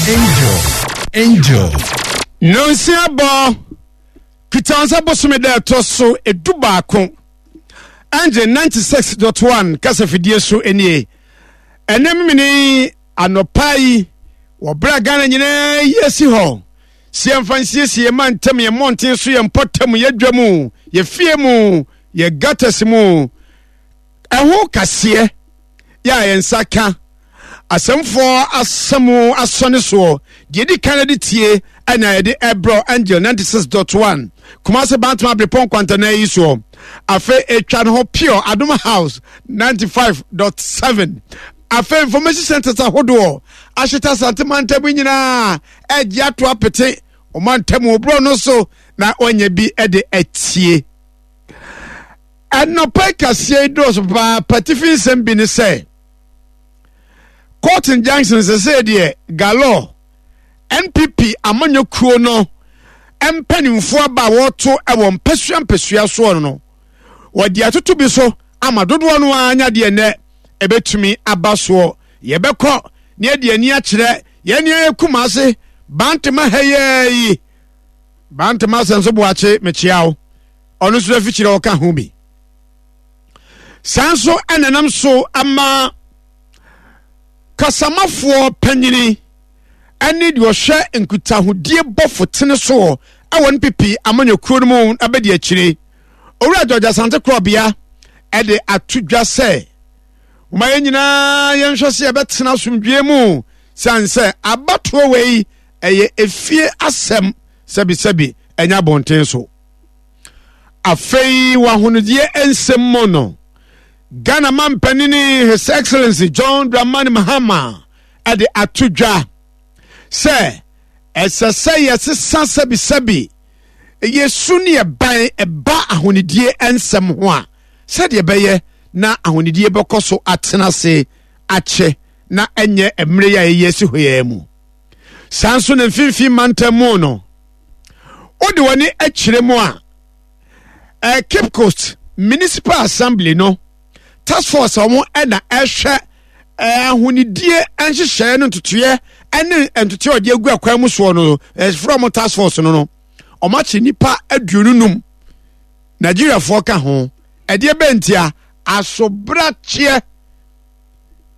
Angel. Angel. Nonsia bɔ Kitansa bosome da ɛtɔ so 11 Angel 96.1 kasafidie so nie. Ɛnɛ memene anɔpa yi wɔ berɛ a Ghana nyinaa yi asi hɔ sɛ yɛmfa nsiesie yɛn mantam, yɛn mmɔnten so, yɛn mpɔtam, yɛn dwa mu, yɛn fie mu, yɛn gutters mu. Ɛho kaseɛ yɛ a yɛn nsa ka asɛmfoɔ asɛm asɔne soɔ deɛ ɛdi kan de tie ɛna yɛde ɛbrɛ Angel 96.1 Kumase Bantama Abrepɔn Kwantana yi soɔ. Afei ɛtwa ne ho pure Adom House 95.7. Afei information centers ahodoɔ ahyeta Asante mantam nyinaa ɛgye ato apete ɔmantam oborɔ no so na ɔnyɛ bi de atie. Ɛnɔpɛ kaseɛ yi dɔɔso paa patifi nsɛm bi ne sɛ Cotton Junction sɛsɛ deɛ galore NPP amanyɔ kuo no mpanimfoɔ aba a wɔto wɔ mpasua mpasua soɔ no wɔde atoto bi so ama dodoɔ no ara nya deɛ nnɛ ɛbɛtumi aba soɔ. Yɛbɛkɔ na yɛde ani akyerɛ yɛn nea yɛ Kumase Bantama ha yi. Bantama asɛm so boakye mekyea wo. Ɔno nso afikyerɛ ɔka ho bi. Saa nso ɛna nam so ama kasamafoɔ panyini ɛne deɛ ɔhwɛ nkutahodie bɔfo tene soɔ ɛwɔ NPP amanyɔkuo no mu abɛdi akyire. Owura George Asante Korɔbea ɛde ato dwa sɛ wɔma yɛn nyinaa yɛnhwɛ sɛ yɛbɛtena asomdwoeɛ mu sane sɛ abatoɔ wei ɛyɛ efie asɛm sɛbisɛbi ɛnyɛ abɔnten so. Afei wɔ ahonodeɛ nsɛm mu no, Ghana mampanini His Excellency John Dramani Mahama ɛde ato dwa sɛ ɛsɛ sɛ yɛsesa sɛbisɛbi yɛsu ne yɛban ɛba ahonidie nsɛm ho a sɛdeɛ ɛbɛyɛ na ahonidie bɛkɔ so atena ase akyɛ na ɛnyɛ mmerɛ yi a yɛyɛ asi hɔ yɛn mu. Saa nso na mfimfini mantam mu no, wode w'ani akyerɛ mu a, eh, Cape Coast Municipal Assembly no task force a wɔn ɛna ɛhwɛ eh, ahonidie nhyehyɛeɛ no ntotoeɛ ɛne ntotoeɛ a wɔde agu akwan mu soɔ no, ɛfrɛ wɔn task force no no, wɔn akye nnipa 25, Nigeriafoɔ ka ho. Ɛdeɛ bɛntia asobrakyeɛ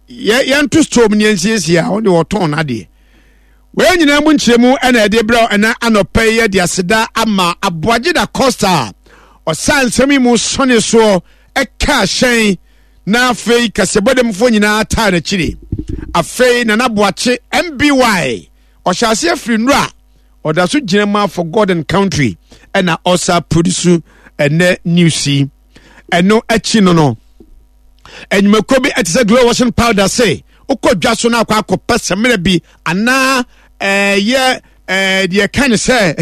yɛ yɛnto store mu ne yɛnsiesie a wɔde wɔtɔn n'adeɛ. Wei nyinaa mu nkyerɛmu ɛna ɛde brɛ ɛna anɔpɛ yi yɛde aseda ama Aboagye da Costa a ɔsa nsɛm yi mu sɔne soɔ ɛka hyɛn na afei kaseɛbɔdɛmfoɔ nyinaa taa n'akyiri. Afei Nana Boakye MBY ɔhyɛ aseɛ firi nnura ɔda so gyina mu for God and country ɛna ɔsa produce ɛnɛ news yi. Ɛno akyi no no enyimako bi ɛte sɛ glow washing powder se wokɔ dwa so na akɔ akɔpɛ sɛmina bi anaa ɛyɛ ɛɛ deɛ ɛka ne sɛ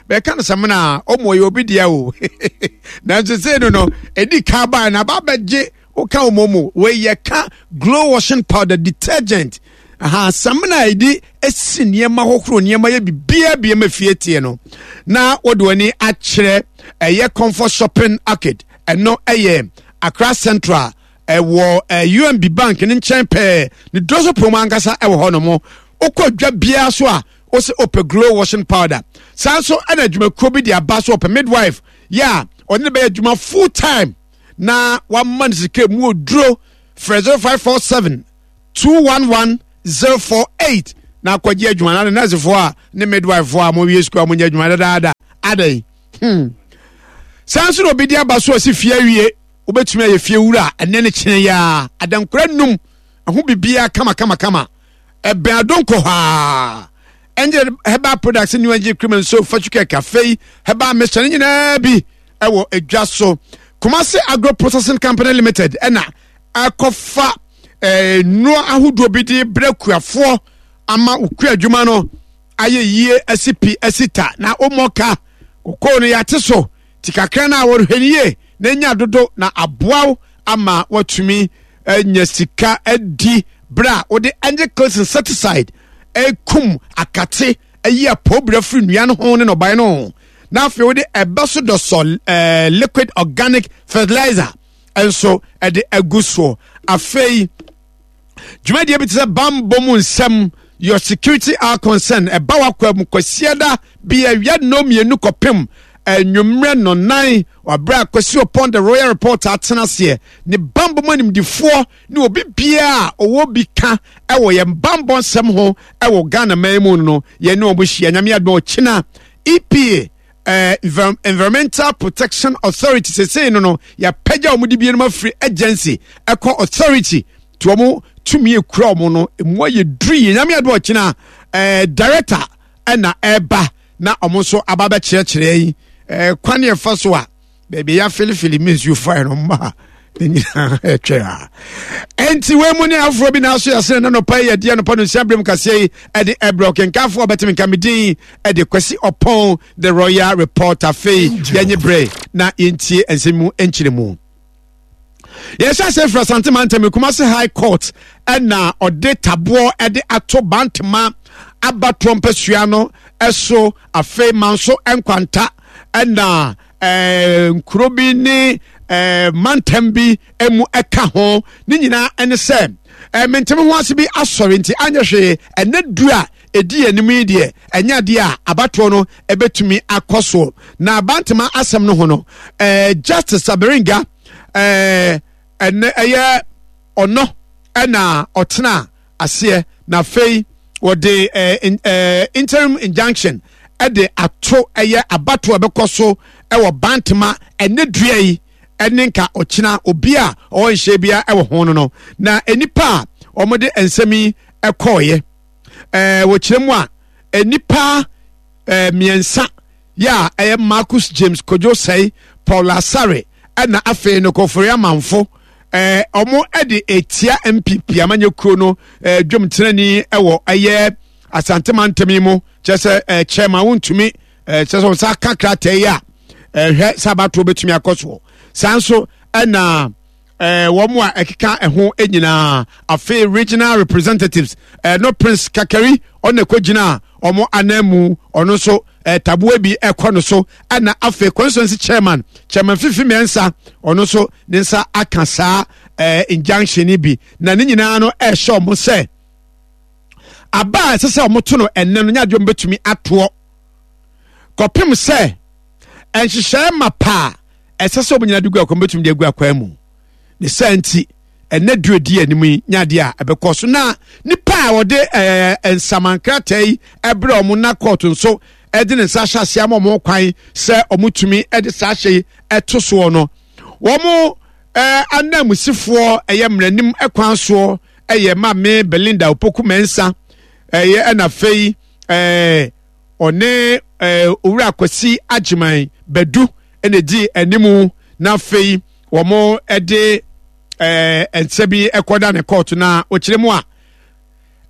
bɛka no sɛmina a ɔmo yɛ obi deɛ o nanso sei no no edi kan baa na aba abɛgye woka wɔn mu wei yɛ ka glow washing powder detergent aha samina a yɛde esi nneɛma hohoro nneɛma yɛ biribiara bi ma fie teɛ no na wɔde wɔn ani akyerɛ ɛyɛ comfort shopping arcade ɛno ɛyɛ Accra Central ɛwɔ ɛɛ UMB bank ne nkyɛn pɛɛ ne duro so pɔn mu ankasa ɛwɔ hɔ nom wokɔ dwa biara so a wosɛ ɔpɛ glow washing powder saa nso ɛna adwumakuo bi de aba so ɔpɛ midwife yɛ a ɔne ne bɛyɛ adwuma full time na wama no sika mu oduro frɛ 0547 211 048 na akɔgye adwuma na ne nɛɛsefoɔ a ne midwifefoɔ a mowie sukuu a monyɛ adwuma dadaada adɛn hmm. Saa nso na obi de aba so ɔsi fie awie wobɛtumi ayɛ fie wura ɛnɛ ne kyene yɛ adankora num ɛho biribiara kama kama kama ɛbɛn adonkɔ hɔ a ɛnyɛ herbal products new energy cream and soap fatu kɛkɛ afei herbal mixture ne nyinaa bi ɛwɔ edwa so. Kumasi Agro Processing Company Limited ɛna ɛkɔfa ɛɛ nnuro ahodoɔ bi de brɛ kuafoɔ ama okua adwuma no ayɛ yie asi pi asi ta na wɔmmɔ ka. Kokoo no yɛate so ti kakra no a wɔhwɛ no yie na nya dodo na aboa wo ama watumi anya sika adi berɛ a wode Angel Clis insecticide ɛkum akate ayi apɔwbira firi nnua no ho ne nnɔbae no ho na afei wode ɛbɛ so dɔsɔ eh, liquid organic fertilizer nso ɛde agu soɔ. Afei dwumadie bi te sɛ bambɔ mu nsɛm Your Security Our Concern ɛba wakwa mu Kwasiada bi awia nnɔn mmienu kɔpem anwummerɛ nnɔnnan wabrɛ a Kwasi Opon the Royal Reporter atena aseɛ ne bambɔ mu animdifoɔ ne obi biara a ɔwɔ bi ka ɛwɔ yɛn bambɔ nsɛm ho ɛwɔ Ghana man mu no yɛn ne wɔn hyia. Nyame adom ɔkyena EPA eh, Environmental Protection Authority sesei no no yɛapagya wɔn de binom afiri agency ɛkɔ authority to wɔn tumi ekura wɔn no emu ayɛ duru yie. Nyame adom ɔkyena eh, director ɛna ɛba na wɔn nso aba bɛkyerɛkyerɛ yi eh, kwan yɛ fa so a baabi ya filifili mi nsuo fae no mma ne nyinaa ɛtwɛ a ɛnti wei mu ne afoforɔ bi naaso yɛsene na nɔpa yi yɛdeɛ nɔpa no nsia berɛ mu kaseɛ yi ɛde ɛberɛ ɔkenkanfoɔ ɔbɛteme nka me din ɛde Kwasi Ɔpɔn the Royal Report. Afei yɛnye berɛ na yɛntie nsɛm mu nkyerɛ mu. Yɛhyɛ ase firi Asante mantam Kumasi High Court ɛna ɔde taboɔ ɛde ato Bantama abatoɔ mpasua no ɛso. Afei Manso Nkwanta ɛna ɛɛ nkuro bi ne ɛɛ mantam bi mu ɛka ho. Ne nyinaa ɛne sɛ ɛɛ menteme ho ase bi asɔre nti anyɛ hwee ɛnɛ du a ɛdi anim yi deɛ ɛnyɛ adeɛ a abatoɔ no ɛbɛtumi akɔ soɔ. Na Bantama asɛm no ho no ɛɛ Justice Aberinga ɛɛ ɛnɛ ɛyɛ ɔno ɛna ɔtena aseɛ na afei wɔde ɛɛ ɛɛ interim injunction ɛde ato ɛyɛ abatoɔ ɛbɛkɔ so ɛwɔ Bantama ɛnɛ dua yi ɛne nka ɔkyena obi a ɔwɔ nhyɛ bia ɛwɔ ho no no na nnipa a wɔde nsɛm yi ɛkɔɔyɛ ɛɛ wɔkyerɛ mu a nnipa ɛɛ mmiɛnsa yɛ a ɛyɛ Marcus James Kojo Sɛe, Paul Asare ɛna afei no Kofori Amanfo ɛɛ wɔn ɛde etia NPP amanyɛ kuo no ɛɛ dwom tenani ɛwɔ ɛyɛ Asante mantam yi mu kyerɛ sɛ ɛɛ chairman wontumi ɛɛ kyerɛ sɛ wɔn nsa aka krataa yi a ɛhwɛ sɛ abatoɔ bɛtumi akɔ soɔ. Saa nso ɛna ɛɛ wɔn a ɛkeka ɛho nyinaa afei regional representatives ɛɛ no Prince Kakari ɔna ɛkɔ gyina wɔn ananmu ɔno nso ɛɛ taboa bi ɛkɔ no so ɛna afei constituency chairman chairman Fifi Mensah ɔno nso ne nsa aka saa ɛɛ injunction yi bi na ne nyinaa no ɛɛhyɛ wɔn sɛ aba a ɛsɛ sɛ wɔn to no ɛnɛ no nyɛ adeɛ wɔn bɛtumi atoɔ kɔpem sɛ nhyehyɛe ma paa ɛsɛ sɛ wɔn nyinaa de gu akwan bɛtumi de agu akwan mu. Ne saa nti ɛnɛ duro di anim yi nyɛ adeɛ a ɛbɛkɔ so. Na nipa a wɔde ɛɛ nsamankrataa yi ɛbrɛ wɔn na kɔɔto nso ɛde ne nsa ahyɛ aseɛ ama wɔn kwan sɛ wɔn tumi ɛde saa ahyɛ yi ɛto soɔ no, wɔn ɛɛ ananmusifoɔ ɛyɛ mmerɛnim ɛkwan soɔ ɛyɛ Maame Belinda Opoku Mensah ɛyɛ ɛna afei ɛɛ ɔne ɛɛ Owura Kwasi Agyeman Badu ɛna edi anim na afei wɔn ɛde ɛɛ nsa bi ɛkɔda ne kɔɔto. Na ɔkyerɛ mu a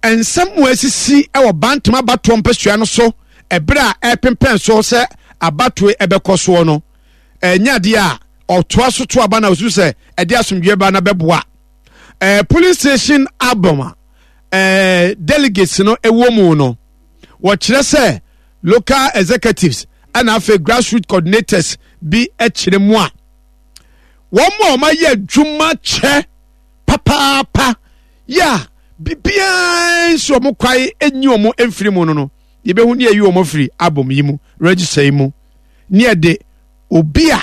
nsɛm mu asisi ɛwɔ Bantama abatoɔ mpasua no so ɛberɛ a ɛpempɛn so sɛ abatoɔ ɛbɛkɔ soɔ no ɛnyɛ adeɛ a ɔtoa so to aba na osu sɛ ɛde asomdwoeɛ ba na bɛboa. Ɛɛ polling station album a ɛɛ delegates no ɛwɔ mu no wɔkyerɛ sɛ local executives ɛna afei grassroots coordinators bi kyerɛ mu a wɔn a wɔayɛ adwuma kyɛ papaapa yɛ a biribiara nsi wɔn kwae nyi wɔn mfiri mu no no yɛbɛhu ne yɛyi wɔn afiri album yi mu register yi mu ne yɛde obi a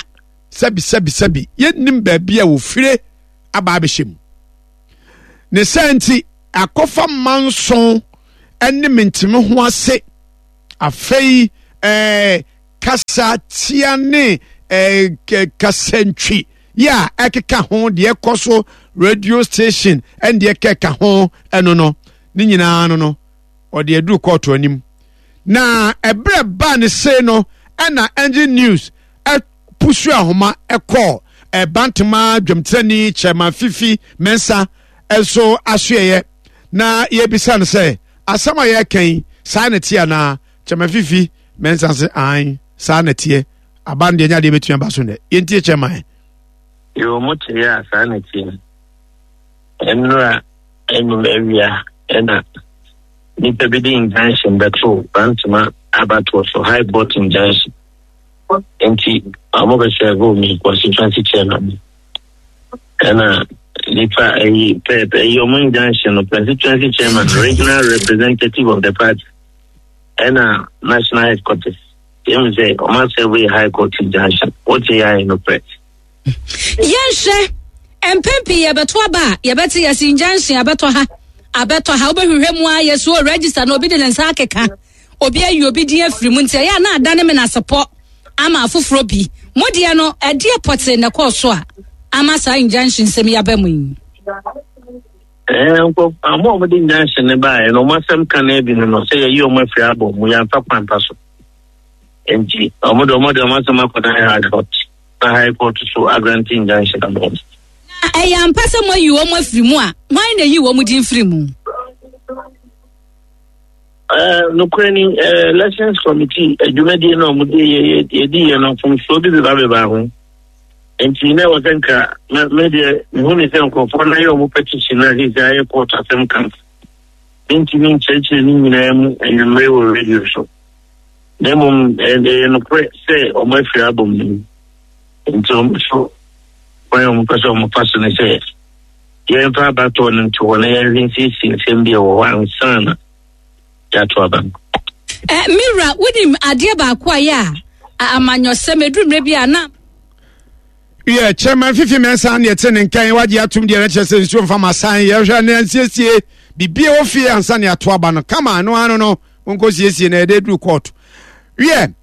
sɛbi sɛbi sɛbi yɛnnim baabi a wɔfire aba abɛhyɛ mu. Ne saa nti akɔfa manson ne menteme ho ase afei ɛɛ kasa tia ne ɛɛ kasantwi yɛ a ɛkeka ho deɛ ɛkɔ so radio station ɛne deɛ ɛkeka ho ɛno no ne nyinaa no no ɔde aduru kɔɔto anim. Na ɛberɛ baa ne sei no ɛna Engine News ɛpusu ahoma ɛkɔɔ ɛbantama dwamtirani Chairman Fifi Mensah nso asoɛyɛ na yɛbisa no sɛ asɛm a yɛreka yi saa na ɛteɛ anaa. Chairman Fifi Mensah se ae saa na ɛteɛ, aba no deɛ nyɛ adeɛ bɛtumi aba so nnɛ. Yɛntie chairman. Yoo, mo te yɛ a saa na ɛteɛ. Nnora anum awia ɛna nipa bi de injunction bɛto Bantama abatoɔ so, High Court injunction. Nti ɔmo bɛ serve me constituency chairman. Ɛna Nipa ɛyi pɛɛpɛ ɛyi ɔmo injunction no constituency chairman regional representative of the party ɛna national headquarters yɛn sɛ ɔmo asɛbo yɛ high court injunction wote yɛ ayɛ no pɛ. Yɛnhwɛ, mpɛn pii yɛbɛto aba a, yɛbɛte yɛsi injunction abɛtɔ ha, abɛtɔ ha, wobɛhwehwɛ mu a yɛsi o register na obi de ne nsa akeka, obi ayi obi din afiri mu nti ɛyɛ a na adane menasepɔ ama afoforɔ bi. Mo deɛ no, ɛdeɛ pɔtee na ɛkɔɔ so a ama saa injunction nsɛm yi aba mu yi? Ɛɛ, nkurɔfo a wɔde injunction no baeɛ no, wɔn asɛm ka no bi no no sɛ yɛyi wɔn afiri abɔ mu, yɛamfa kwan pa so. Nti, wɔn de wɔn de wɔn asɛm akɔdan high court. Na High Court so agrante injunction ama wɔn. Na ɛyɛ ampa sɛ moayi wɔn afiri mu a, hwan na eyi wɔn din firi mu? Nokorɛ ni, Elections Committee adwumadie no a wɔde yɛdi yɛ no mfomsoɔ bi beba beba ho. Nti na ɛwɔ sɛ nka me deɛ mehu ne sɛ nkurɔfoɔ no ayɛ wɔn petition na sɛ sɛ ayɛ court asɛm ka. Mentumi nkyerɛkyerɛ ne nyinaa mu anwummere wɔ radio so. Na mmom ɛyɛ nokorɛ sɛ wɔn afiri abom no mu. Nti wɔn nso kwan a wɔpɛ sɛ wɔfa so ne sɛ yɛmfa abatoɔ no nto hɔ na yɛnhwɛ nsiesie nsɛm bi a ɛwɔ hɔ ansa na yɛato aba no. Eh, me wura, wonim adeɛ baako a yɛ a amanyɔsɛm ɛduru mmerɛ bi a na Yɛ chairman Fifi Mensah ne ɛte ne nkan wagye atom deɛ no kyerɛ sɛ nsuo mfa ma san yɛhwɛ ne ansiesie bibie wɔ fie ansa ne ato aba no kama no ano no monkɔ siesie na yɛde duru court wiɛ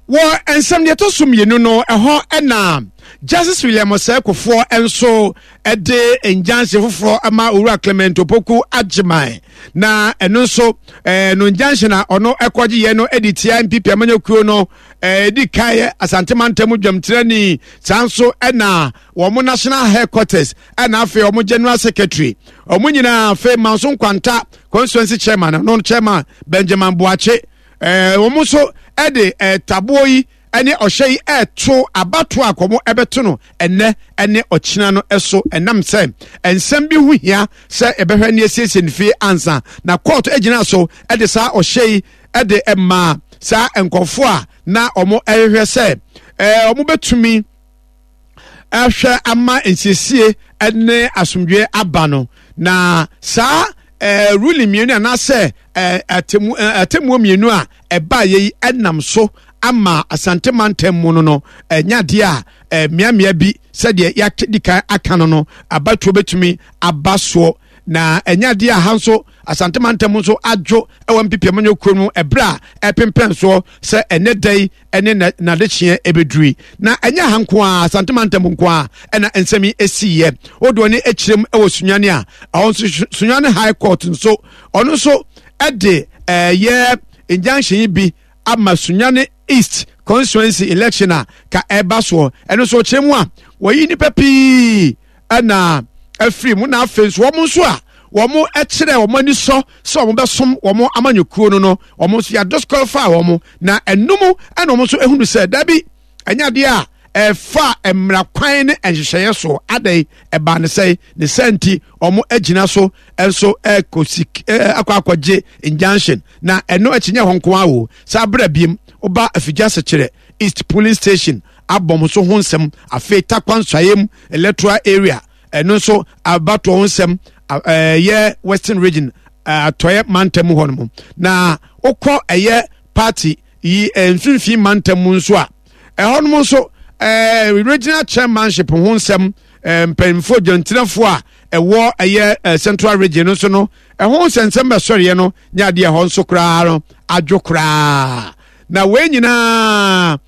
wɔ nsɛm deɛ ɛtɔ so mmienu no ɛhɔ ɛna Justice William Osei Kufuor nso ɛde injunction foforɔ ama Owura Clement Opoku Agyeman na ɛno nso ɛɛ no injunction a ɔno ɛkɔgye yɛ no ɛde tia NPP amanyɔkuo no ɛdi kan yɛ Asante mantam dwamtirani saa nso ɛna wɔn national headquarters ɛna afei wɔn general secretary wɔn nyinaa afei Manso Nkwanta constituency chairman no chairman Benjamin Boakye ɛɛ wɔn nso ɛde ɛɛ taboɔ yi ɛne ɔhyɛ yi ɛɛto abatoɔ a kɔn ɛbɛto no ɛnɛ ɛne ɔkyena no ɛso ɛnam sɛ nsɛm bi ho hia sɛ ɛbɛhwɛ ne asiesie ne fie ansa na court egyina so ɛde saa ɔhyɛ yi de maa saa nkurɔfoɔ a na wɔhwehwɛ sɛ ɛɛ wɔbɛtumi ahwɛ ama nsiesie ne asomdwoeɛ aba no na saa ɛɛ ruling mmienu anaasɛ ɛɛ atemu ɛɛ atemmuo mmienu a ɛbaeɛ yi ɛnam so ama Asante mantam mu no no ɛnya adeɛ a ɛɛ mmeammea bi sɛdeɛ yɛadi kan aka no no abatoɔ bɛtumi aba soɔ na ɛnyɛ adeɛ a ha nso Asante mantam nso adwo wɔ NPP amanyɔkuo no ɛberɛ a ɛpempɛn soɔ sɛ ɛnɛ da yi ne n'adekyeɛ ɛbɛduru yi. Na ɛnyɛ ha nko ara, Asante mantam nko ara ɛna nsɛm yi ɛsiiɛ. Wodoɔ ne ɛkyerɛm wɔ Sunyani a, ɛhɔ nso Sunyani High Court nso ɔno nso ɛde ɛyɛ injunction yi bi ama Sunyani East constituency election a ka ɛba soɔ. Ɛno nso ɔkyerɛ mu a wɔyi nnipa pii ɛna afiri mu na afei nso wɔn nso a wɔn kyerɛ wɔn ani sɔ sɛ wɔn bɛsom wɔn amanyɔkuo no no wɔn nso yɛ disqualify wɔn na ɛnum ɛna wɔn nso ehunu sɛ dabi ɛnyɛ adeɛ a ɛfa mmara kwan ne nhyehyɛeɛ so adɛn ɛbaa ne sɛn ne sɛ nti wɔn agyina so nso ɛkɔsi akɔ akɔgye injunction na ɛno akyi nyɛ hɔ nko ara o saa abira biem ɔba afigya sekyerɛ East Polling Station abɔ nso ho nsɛm afei Tarkwa Nsɔeɛ Electoral Area ɛno nso abatoɔ ho nsɛm ɛyɛ Western Region atɔeɛ mantam mu hɔ nom na wokɔ ɛyɛ party yi mfimfini mantam mu nso a ɛhɔ nom nso ɛɛ regional chairmanship ho nsɛm mpanyinfoɔ gyantinafoɔ a ɛwɔ ɛyɛ central region nso no ɛho nsɛnsɛm bɛsɔreɛ no nyɛ adeɛ ɛhɔ nso koraa no adwo koraa Na wei nyinaa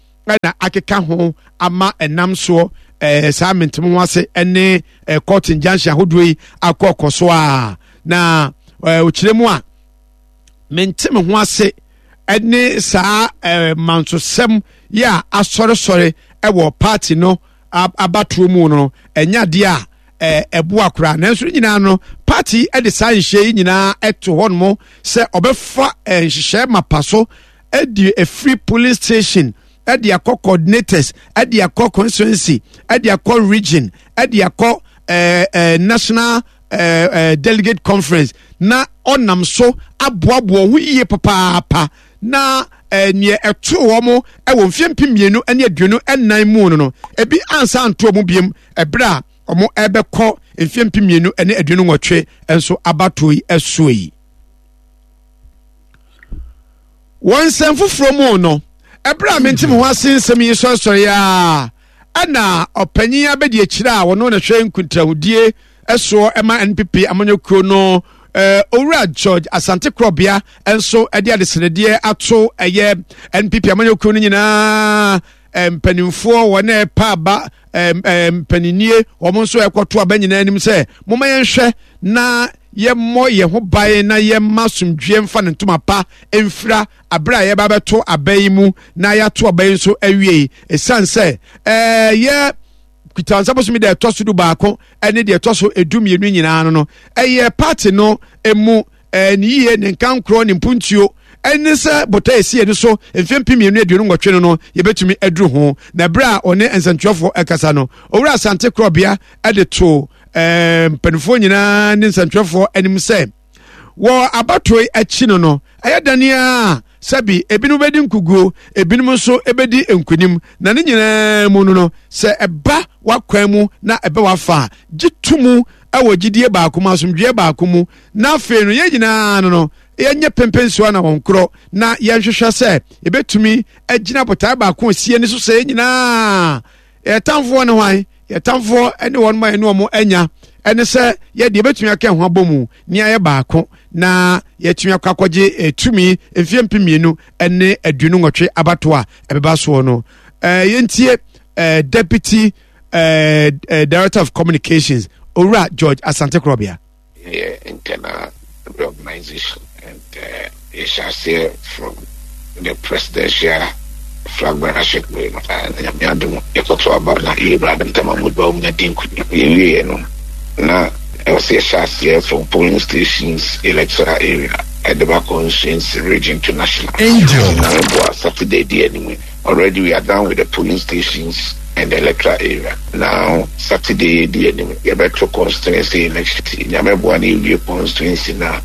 na akeka ho ama ɛnam soɔ ɛɛ saa mentem ho ase ne ɛɛ court injunction ahodoɔ yi akɔ kɔ so a na ɛɛ ɔkyerɛ mu a mentem ho ase ne saa ɛɛ mansosɛm yi a asɔresɔre ɛwɔ party no abatoɔ mu no ɛnyɛ adeɛ a ɛboa koraa nanso ne nyinaa no party de saa nhyɛ yi nyinaa to hɔ nom sɛ ɔbɛfa nhyehyɛ mapa so de efiri police station de akɔ coordinators de akɔ constituency de akɔ region de akɔ ɛɛ ɛɛ national ɛɛ ɛɛ delegate conference na ɔnam so aboaboa ho yie papaapa na eh, neɛ ɛtoo wɔn wɔ mfeɛ 2024 mu no no ebi ansa anto wɔn biem ɛberɛ a wɔn ɛbɛkɔ. mfeɛ 2028 nso abatoɔ yi soɔ yi. Wɔ nsɛm foforɔ mu no, ɛberɛ a mente me ho ase nsɛm yi sɔresɔre a ɛna ɔpanyin abɛdi akyire a wɔno na hwɛ nkuntrahodie soɔ ɛma NPP amanyɔkuo no Owura George Asante Korɔbea nso de adesrɛdeɛ ato ɛyɛ NPP amanyɔkuo no nyinaa mpanimfoɔ wɔn a ɛpa aba mpaninnie wɔn nso ɛkɔto aba nyinaa anim sɛ momma yɛnhwɛ na yɛmmɔ yɛn ho ban na yɛmma asomdwoeɛ mfa ne ntoma pa mfira abere a yɛba bɛto aba yi mu na yɛato aba yi nso awie ɛsiane sɛ ɛyɛ Kutaansa bosome deɛ ɛtɔ so 11 ne deɛ ɛtɔ so 12 nyinaa no no ɛyɛ party no mu ne yie ne nkankorɔ ne mpuntuo ɛne sɛ botae ɛsi yɛn so mfeɛ 2028 no no yɛbɛtumi aduru ho. Na ɛberɛ a ɔne nsɛntwerɛfoɔ ɛkasa no, Owura Asante Korɔbea de to mpanimfoɔ nyinaa ne nsɛntwerɛfoɔ anim sɛ wɔ abatoɔ yi akyi no no ɛyɛ dane a sɛbi ebinom bɛdi nkuguo, ebinom nso bɛdi nkunim, na ne nyinaa mu no no sɛ ɛba w'akwan mu na ɛbɛ w'afa a, gye to mu wɔ gyidie baako mu, asomdwoeɛ baako mu, na afei no yɛn nyinaa no no yɛnyɛ pempensoa na wɔn korɔ, na yɛnhwehwɛ sɛ yɛbɛtumi agyina botae baako a sie ne so sɛ yɛn nyinaa yɛn tamfoɔ ne hwan, yɛn tamfoɔ ne wɔn ma yɛne wɔn anya, ɛne sɛ yɛde yɛbɛtumi aka ho abɔ mu ne ayɛ baako na yɛatumi akɔ akɔgye eh, tumi mfeɛ 2028 abatoɔ a ɛbɛba soɔ no. Eh, yɛntie eh, Deputy Director of Communications Owura George Asante Korɔbea. Yɛyɛ internal reorganization and yɛhyɛ aseɛ from the presidential flag bearership wei no na Nyame adom yɛkɔto aba na yɛwura Adenta Mahmood Bawumia di nkunim. Yɛwieɛ no na ɛwɔ sɛ yɛhyɛ aseɛ from polling stations electoral area ɛde ba constituency, region to national. Angel. Nyame boa Saturday di anim yi. Already we are done with the polling stations and the electoral area. Now Saturday di anim yɛbɛto constituency election. Nyame boa na yɛwie constituency na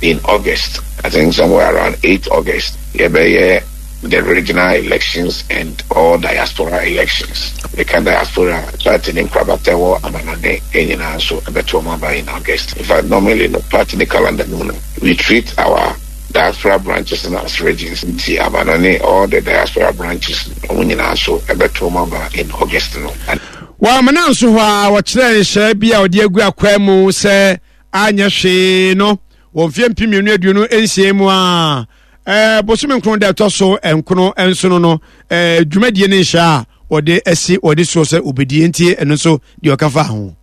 in August, I think somewhere around 8 August, yɛbɛyɛ the regional elections and all diaspora elections. Meka diaspora party ne nkorabata ɛwɔ amanɔne nyinaa nso ɛbɛto wɔn aba in August. In fact, normally no party ne calendar no mu no, we treat our diaspora branches no as regions nti amanɔne all the diaspora branches no wɔn nyinaa nso ɛbɛto wɔn aba in August no. Wɔ amena nso hɔ a wɔkyerɛɛ nhyɛɛ bi a wɔde agu akwaa mu sɛ anyɛ hwee no wɔ mfeɛ 2026 mu a bosome nkron da ɛtɔ so nkono nsono no dwumadie ne nhyɛ a wɔde asi wɔde soɔ sɛ wɔbɛdie nti ɛno nso deɛ ɔka fa ho.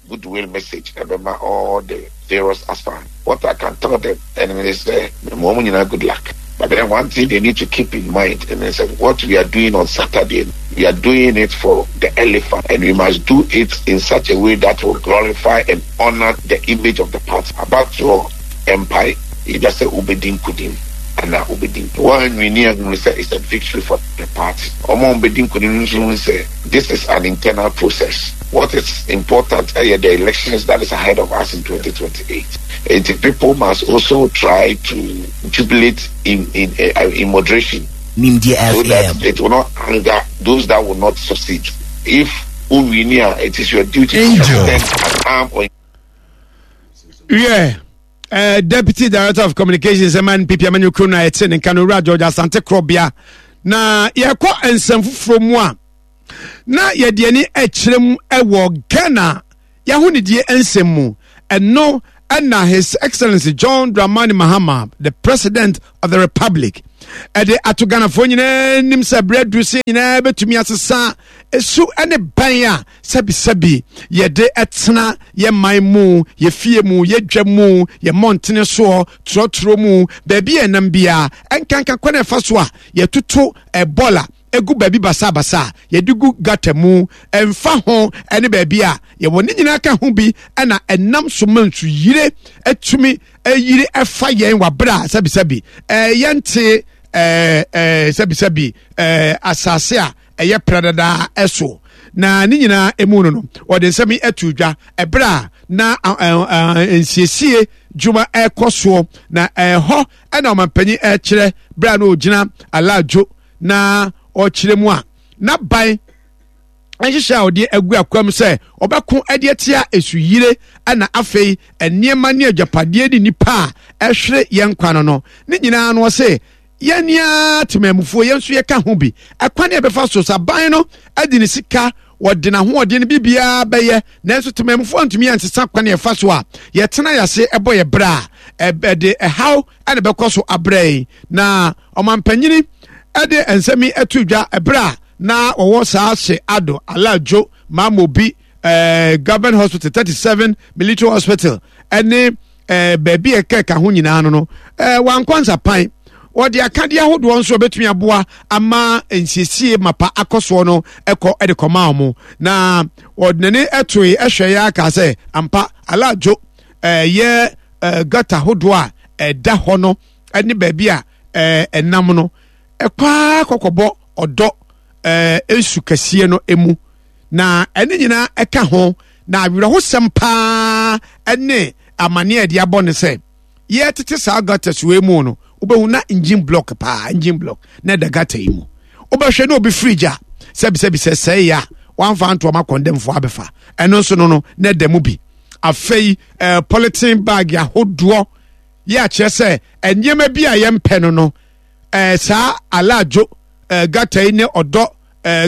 Goodwill message ɛbɛma all the various aspirants. What I can tell them ɛne ne sɛ mema wɔn nyinaa good luck. But then one thing they need to keep in mind ɛne ne sɛ what we are doing on Saturday no, we are doing it for the elephant and we must do it in such a way that will glorify and honour the image of the party. Abatoɔ mpae either sɛ wobɛdi nkunim anaa wobɛdi nkunim. Woanwini a hunu sɛ it's a victory for the party. Wɔn a wɔbɛdi nkunim no nso hunu sɛ this is an internal process. What is important ɛyɛ the elections that is ahead of us in 2028. Enti people must also try to jubilate in in in moderation Nimdeɛ so that FM. it will not anger those that will not succeed. If wo wini a, it is your duty to Angel. extend an arm or Yeah. Deputy Director of Communications ɛma NPP amanyɔkuo no a ɛte ne nka no Owura George Asante Korɔbea na yɛkɔ nsɛm foforɔ mu a na yɛde ani kyerɛ mu wɔ Ghana yɛahonidie nsɛm mu. Ɛno ɛna His Excellency John Dramani Mahama, the President of the Republic, ɛde ato Ghanafoɔ nyinaa anim sɛ berɛ aduru sɛ nyinaa bɛtumi asesa esu ne ban a sɛbisɛbi yɛde ɛtena yɛ man mu, yɛ fie mu, yɛ dwa mu, yɛ mmɔntene soɔ, torɔtorɔ mu, baabi a ɛnam biara, ɛnkanka kwan a ɛfa so a yɛtoto ɛbɔla gu baabi basabasa a yɛde gu gata mu, ɛmfa ho ne baabi a yɛwɔ ne nyinaa ka ho bi na ɛnam so ma nsuyire atumi ayiri ɛfa yɛn wɔ abere a sɛbisɛbi yɛnte sɛbisɛbi asase a ɛyɛ pradadaa ɛso na ne nyinaa emu no no wɔde nsɛm yi ato dwa ɛberɛ a na nsiesie dwuma ɛrekɔ soɔ na ɛhɔ ɛna ɔmanpanyin ɛrekyerɛ berɛ a na ɔgyina alaadwo na ɔkyerɛ mu a n'aban Nhyehyɛ a ɔde agu akwam sɛ ɔbɛko de atia esuyire na afei nneɛma ne agyapadeɛ ne nnipa a ɛhwere yɛn nkwa no no ne nyinaa no ɔse yɛn ara temamufoɔ yɛn nso yɛka ho bi. Ɛkwan a ɛbɛfa so sɛ aban no de ne sika wɔde n'ahoɔden no biribiara bɛyɛ nanso temamufoɔ ntumi ansesa kwan a ɛfa so a yɛtena yɛase ɛbɔ yɛ berɛ a ɛde ɛhaw ɛna ɛbɛkɔ so abrɛ yi. Na ɔmampanyini ɛde nsɛm yi ɛto dwa ɛberɛ a na wɔwɔ saa hye ado alajo mamobi eh, government hospital 37 military hospital ɛne eh, baabi a ɛkɛka ho nyinaa no no eh, wankɔ nsapan. Wɔde akadeɛ ahodoɔ nso ɛbɛtumi aboa ama nsiesie mapa akɔ soɔ no ɛkɔ ɛde kɔma wɔn. Na wɔde n'ani ɛtoe ɛhwɛ yɛ aka sɛ ampa alajo ɛyɛ eh, gata ahodoɔ a ɛda hɔ no ɛne baabi a ɛnam no ɛkɔ akɔkɔbɔ ɔdɔ nsu kɛseɛ no mu, na ɛne nyinaa ɛka ho. Na awerɛhosɛm paa ɛne amaneɛ a ɛde abɔ ne sɛ yɛtete saa gutters wei mu no, wobɛhu na engine block paa, engine block na ɛda gutter yi mu. Wobɛhwɛ na obi fridge a sɛbisɛbi sɛ sɛe a wamfa ntoa ma kɔndɛmfoɔ abɛfa ɛno nso no no na ɛda mu bi. Afei polythene bag ahodoɔ yɛ akyerɛ sɛ nneɛma bi a yɛmpɛ no no saa alaadwo gata yi ne ɔdɔ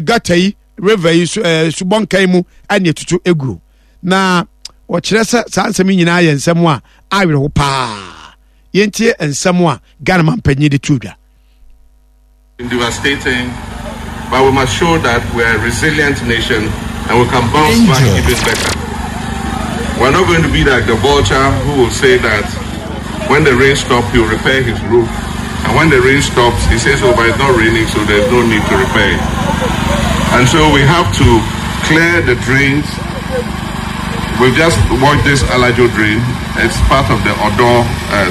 gata yi river yi so subɔnka yi mu ɛne etutu egu. Na wɔkyerɛ sɛ saa nsɛm yi nyinaa yɛ nsɛm a awerɛho paa. Yɛntie nsɛm a Ghana mampanyin de to dwa. Devastating, but we must show that we are a resilient nation and we can bounce back even better. We're not going to be like the vulture who will say that when the rain stops, he'll repair his roof. And when the rain stops, he says, oh, but it's not raining, so there's no need to repair it. And so we have to clear the drains. We've just washed this Alajo drain. It's part of the Odo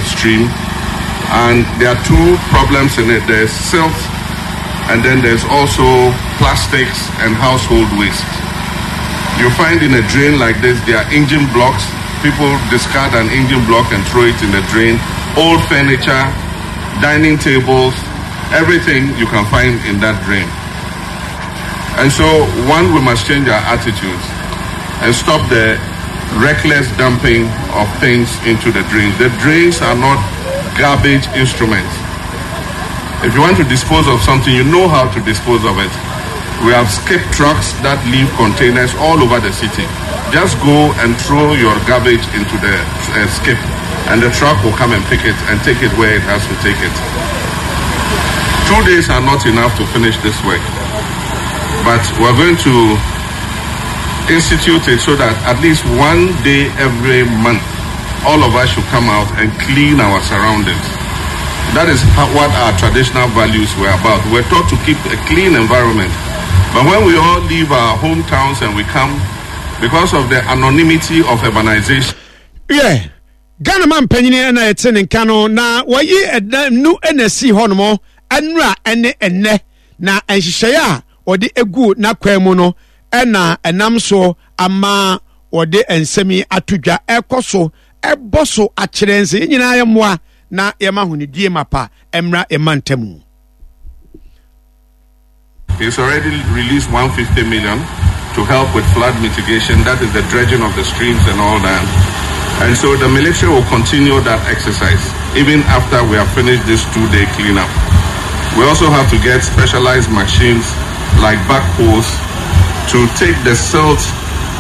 stream. And there are two problems in it. There's silt, and then there's also plastics and household waste. You find in a drain like this, there are engine blocks. People discard an engine block and throw it in the drain. Old furniture, dining tables, everything you can find in that drain. And so, one, we must change our attitudes and stop the reckless dumping of things into the drains. The drains are not garbage instruments. If you want to dispose of something, you know how to dispose of it. We have skip trucks that leave containers all over the city. Just go and throw your garbage into the skip, and the truck will come and pick it and take it where it has to take it. 2 days are not enough to finish this work, but we're going to institute it so that at least one day every month, all of us should come out and clean our surroundings. That is what our traditional values were about. We're taught to keep a clean environment. But when we all leave our hometowns and we come, because of the anonymity of urbanization. Yeah. Ghana man panyini na yɛte ne nka no na wɔyi ɛdan nu na esi hɔ nom ɛnura ɛne ɛnɛ na nhyehyɛeɛ a wɔde egu n'akwan mu no ɛna ɛnam so ama wɔde nsɛm yi ato dwa ɛkɔ so ɛbɔ so akyerɛ nsɛ yɛn nyinaa yɛ mmoa na yɛma ahonidie mapa mmra yɛma ntamu. He's already released 150 million to help with flood mitigation, that is the dredging of the streams and all that. And so the military will continue that exercise even after we have finished this 2-day cleanup. We also have to get specialized machines like backhoes to take the silt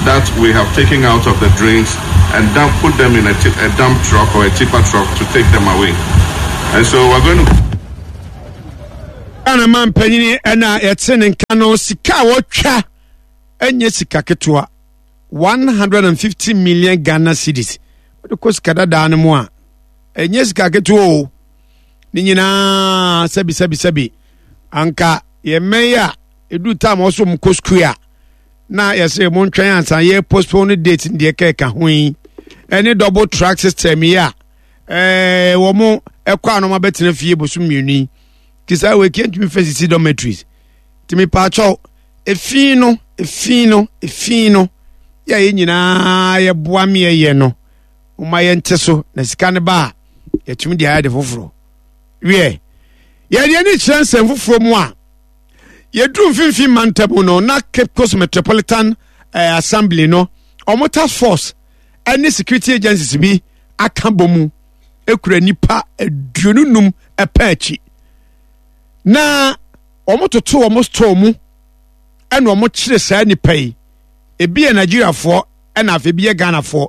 that we have taken out of the drains and dump, put them in a dump truck or a tipper truck to take them away. And so we're going to... Ghana man panyini ɛna yɛte ne nka no sika a wɔtwa ɛnyɛ sika ketewa 150 million Ghana cedis wode kɔ sika dadaa no mu a ɛnyɛ sika ketewa o. Ne nyinaa sɛbi sɛbi sɛbi anka yɛmmɛn yi a ɛduru time ɔso mu kɔ sukuu a na yɛsɛ mo ntwɛn ansa yɛ postpone date deɛ kɛka ho yi ɛne double track system yi a wɔn mo ɛkɔ a na wɔn abɛtena fie bosom mmienu yi te saa wei kɛntumi fɛ sisi dormitories te mi paakyɛw efi no efi no efi no yɛ yɛ nyinaa yɛboa meɛ yɛ no wɔn ayɛ nte so na sika no ba a yɛtumi de ayɛ de foforɔ wiɛ yɛde ani kyerɛ nsɛm foforɔ mu a. Yɛduru mfimfini mantam no na Cape Coast Metropolitan eh, Assembly no wɔn task force ne security agencies bi aka bɔ mu ekura nipa 25 ɛpɛ akyi na wɔn toto wɔn store mu ɛna wɔn kyerɛ saa nipa yi ebi yɛ Nigeriafoɔ ɛna afei ebi yɛ Ghanafoɔ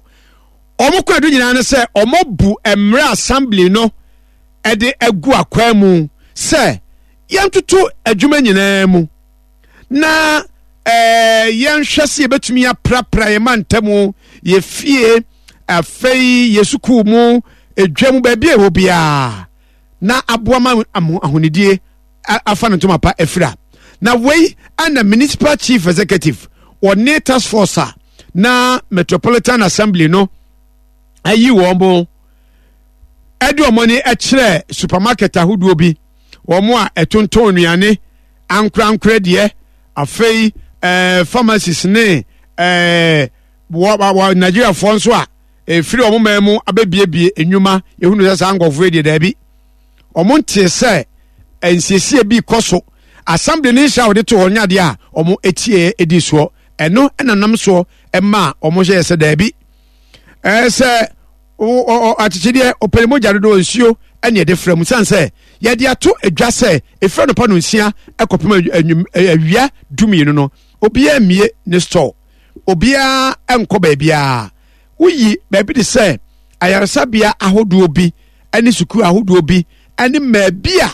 wɔn kɔ edu nyinaa ne sɛ wɔn bu mmerɛ assembly no ɛde agu akwan mu sɛ yɛntoto adwuma nyinaa mu na ɛɛ yɛnhwɛ sɛ yɛbɛtumi aprapra yɛn mantam yɛ fie afei yɛ sukuu mu edwa mu baabi a ɛwɔ biara na aboa ma ahonidie afa no ntoma pa afira na wei ana municipal chief executive wɔne task force a na metropolitan assembly no ayi wɔn mo ɛde wɔn ani kyerɛ supermarket ahodoɔ bi wɔn a ɛtontɔn nnuane ankorankorɛ deɛ afei ɛɛ pharmacies ne ɛɛ wɔ wɔ nigeriafoɔ nso a efiri wɔn man mu abɛbiebie nnwuma ehunu sɛ saa nkurɔfoɔ yi deɛ daabi wɔn ntee sɛ nsiesie bi kɔ so assembly ne nhyɛ a wɔde to hɔ nyadeɛ a wɔn etie edi soɔ ɛno ɛna nam soɔ ɛma wɔn hyɛ sɛ daabi ɛɛ sɛ. Akyekyedeɛ, ɔpɛ ne mogya dodoɔ, nsuo ɛne ɛde frɛ mu sane sɛ yɛde ato adwa sɛ ɛfiri anɔpa no nsia ɛkɔpem awia dumienu no obiara mmie ne store obiara nkɔ baabiara woyi baabi de sɛ ayaresabea ahodoɔ bi ɛne sukuu ahodoɔ bi ɛne mmaabi a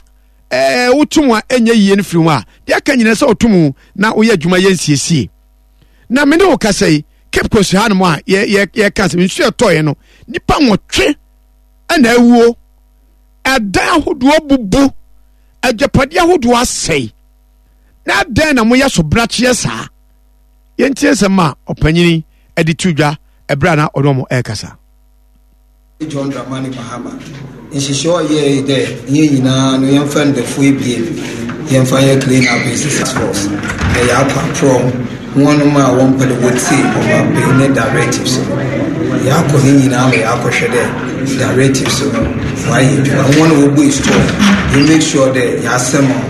ɛɛ wotum a ɛnyɛ yie no firi ho a deɛ aka nyinaa sɛ wotum na woyɛ adwuma yɛ nsiesie na me ne wo kasa yi Cape Coast hanom a yɛka sɛ nsuo ɛtɔeɛ no nipa nwɔtwe ɛna awuo ɛdan ahodoɔ bubu agyapadeɛ ahodoɔ asɛe na adɛn na moyɛ so brakyeɛ saa yɛntie nsɛm a ɔpanyini ɛde to dwa ɛberɛ a na ɔne ɔmo ɛrekasa. John Dramani Mahama nhyehyɛɛ a ɔyɛe dɛ hɛn nyina no yɛmfa ndafua ebien yɛmfa nyɛ clean up exercise force na yɛakɔ aprɔw hɔnnom a wɔmmpɛ dɛ wotsie ɔmampanyin ne directives no. Yɛakɔ ne nyina ma yɛakɔhwɛ dɛ directives no wɔayɛ edwuma. Hɔn a wobue store yɛ make sure dɛ yɛasɛm hɔn.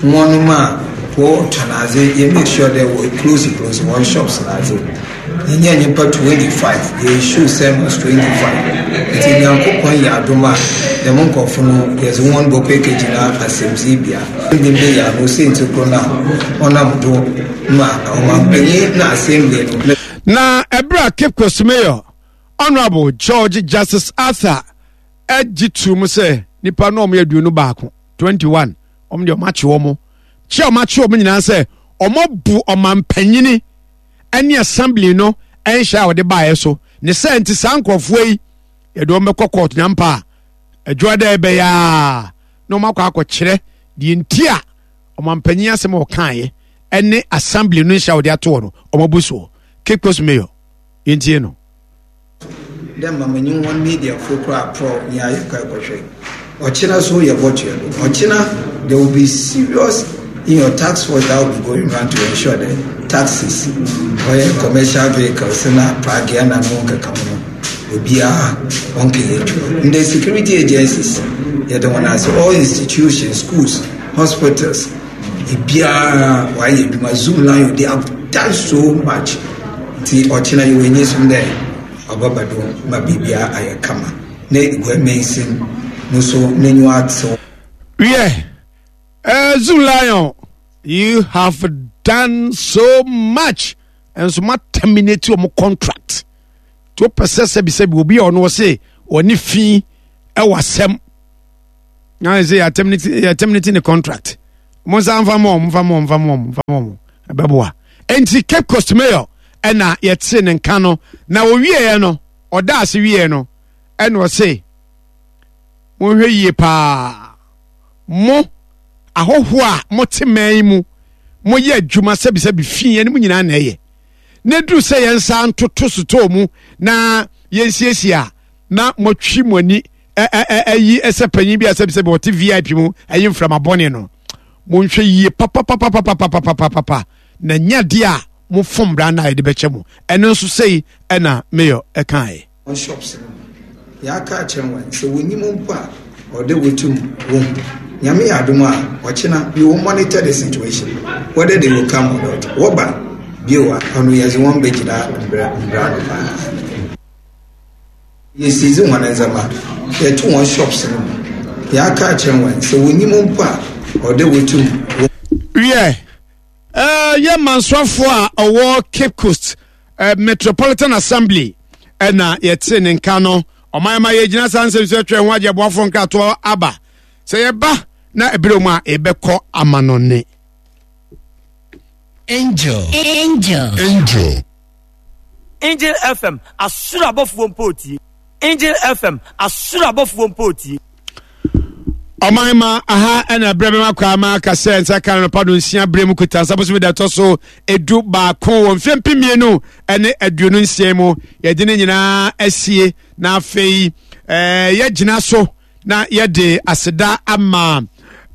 Hɔnnom a wɔtɔn adze yɛ make sure dɛ wɔ close close hɔn shops n'adze. Yɛnyaa nyimpa 25, yɛ issue sermons 25. Ntsi Nyankopɔn yɛ adom a, dɛm nkorɔfo no yɛdze hɔn bɔkɔ ekegyina asɛmdziibea. Ndɛ mber yi ano siantsir kor no a ɔnam do ma ɔmampanyin na assembly no. Na ɛberɛ a Cape Coast Mayor Honourable George Justice Arthur gye too mu sɛ nipa no wɔn yɛ 21, 21, wɔn deɛ wɔn akye wɔn, kye a wɔn akye wɔn nyinaa sɛ wɔn abu ɔmampanyini ne assembly no nhyɛ a wɔde baeɛ so ne sɛ nti saa nkurɔfoɔ yi yɛde wɔn bɛkɔ court nyampa a adwuma dɛ ɛbɛyɛ a na wɔn akɔ akɔkyerɛ deɛ nti a ɔmampanyin asɛm a ɔkaeɛ ɛne assembly no nhyɛ a wɔde ato hɔ no wɔn abu soɔ. Cape Coast Mayor yɛntie no. Dɛ ma menye hɔn mediafo koraa aprɔw nye ayɛ kɔ ekɔhwɛ. Ɔkyena so yɛbɔtoa do. Ɔkyena there will be serious in your task force that will be going round to ensure dɛ taxis, ɔyɛ commercial vehicles na pragea na no nkekaho no obiara ɔnnkɛyɛ edwuma. Ndɛ security agencies yɛda hɔn ase, all institutions, schools, hospitals, Obiara ɔayɛ edwuma zoom lion they have done so much nti ɔkyena yɛwɔ enyisom dɛ ɔbɛba do ma biribiara ayɛ kama na Eguai mansin no so n'enyiwa atsew. Wiɛ, eh, Zoom Lion, you have done so much. And so ma terminate your contract. To wopɛ sɛ sɛbisɛbi obi a ɔno ɔse ɔne fi ɛwɔ asɛm na sɛ yɛ terminate ne contract mo nsa nfa mo nfa mo nfa mo nfa mo ɛbɛboa nti Cape Coast Mayor ɛna yɛte ne nka no na owieɛ no ɔda ase wieɛ no ɛna ɔse monhwɛ yie paa mo ahɔhoɔ a mote man yi mu moyɛ adwuma sɛbisɛbi fi ɛne mu nyinaa na ɛyɛ na duru sɛ yɛn nsa ntoto sotɔɔ mu na yɛnsiesie a na moatwi mo ani ayi sɛ panyin bi a sɛbisɛbi ɔte vip mu ayi mframa bɔne no monhwɛ yie papapapapapapapapa na nya deɛ a mofom bra no a yɛde bɛkyɛ mo ɛno nso sei ɛna mayor ɛkaeɛ. Wɔn shops no mu. Yɛaka akyerɛ wɔn sɛ wɔnyim mpo a ɔwɔ dɛ wotum wohu. Nyame yɛ adom a, ɔkyena we will monitor the situation whether they will come or not. Wɔba bio a, ɔno yɛdze hɔn bɛgyina mbra mbra ano paa. Yɛsiizi hɔn ndzɛmba, yɛto hɔn shops no mu, yɛaka akyerɛ hɔn sɛ wonyim mpo a, ɔwɔ dɛ wotum wɔ. Wiɛ, yɛ mansoafoɔ a ɔwɔ Cape Coast Metropolitan Assembly ɛna yɛte ne nka no. Ɔman ma yɛgyina saa nsɛm so atwa ho agye aboafoɔ nkratoɔ aba. Sɛ yɛba na ɛberɛ mu a yɛbɛkɔ amanɔne. Angel. Angel. Angel. Angel FM, asoro abɔfoɔ mpo retie. Angel FM, asoro abɔfoɔ mpo retie. Ɔman ma aha ɛna berɛ bɛma kwaa ma aka sɛ nsa ka no pa do nsia berɛ mu kuta nsa bosome da ɛtɔ so 11 wɔ mfeɛ 2026 mu. Yɛde ne nyinaa asie na afei yɛgyina so na yɛde aseda ama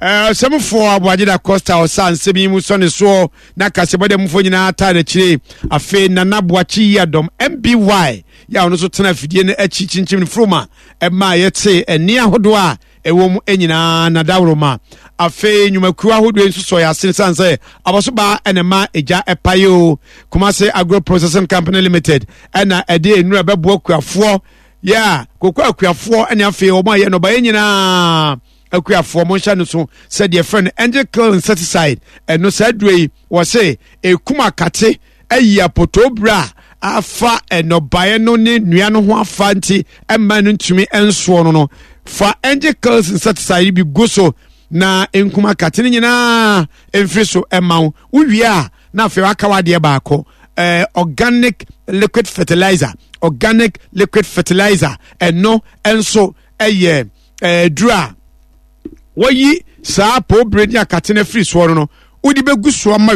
ɔsɛmfoɔ Aboagye da Costa ɔsa nsɛm yi mu sɔ ne soɔ na kasɛbɔdɛ mufoɔ nyinaa taa n'akyire. Afei Nana Boakye yi adɔm MBY yɛ a ɔno nso tena afidie no akyi kyinkyim no furuma ɛma yɛte ɛnne ahodoɔ a ɛwɔ mu nyinaa na dawuroma. Afei nnwumakuo ahodoɔ nso sɔ yɛ ase sane sɛ abɔsobaa ɛna ɛma egya ɛpae o. Kumase Agro Processing Company Limited ɛna ɛde nnuro ɛbɛboa kuafoɔ yɛ a koko akuafoɔ ɛne afei wɔn a yɛ nnɔbaeɛ nyinaa akuafoɔ mo nhyɛ no so sɛ deɛ fɛ no angel kill insecticide. Ɛno saa duro yi wɔ se ekum akate ayi apotoo bere a afa nnɔbaeɛ no ne nnua no ho afa nti ɛmma no ntumi nsoɔ no no fa angel kill insecticide bi gu so na nkum akate no nyinaa mfiri so ɛma wo. Wowie a na afei waka wadeɛ baako, organic liquid fertilizer. Organic liquid fertilizer ɛno nso ɛyɛ duro a wɔyi saa poobere ne akate no afiri soɔ no no wode bɛgu soɔ ma.